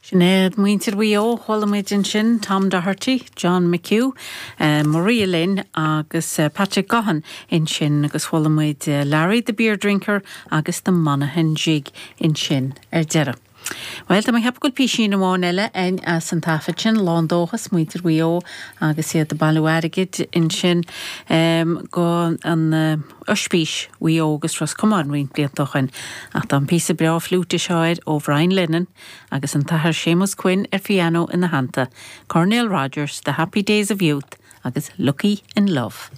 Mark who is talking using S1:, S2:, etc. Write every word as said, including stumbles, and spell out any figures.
S1: Sinéad muintir Mhaigh Eo chuala muid ansin Tom Doherty, John McHugh, uh, Maria Lynn agus uh, Patrick Gaughan ansin agus chuala muid uh, Larry the Beer Drinker agus the Monaghan Jig ansin ar deireadh. Well tá mé cheapadh písín amháin eile ein as an taifead sin lán dóchas muintir Mhaigh Eo agus iad ag bailiú airgid ansin um, go an uh, Ospís Mhaigh Eo agus Ros Comáin roinnt blianta ó shin ach tá an píosa breá fliúite seo ó Brian Lennon agus an tAthair Séamus Quinn ar piano ina theannta. Cornell Rogers, The Happy Days of Youth agus Lucky in Love.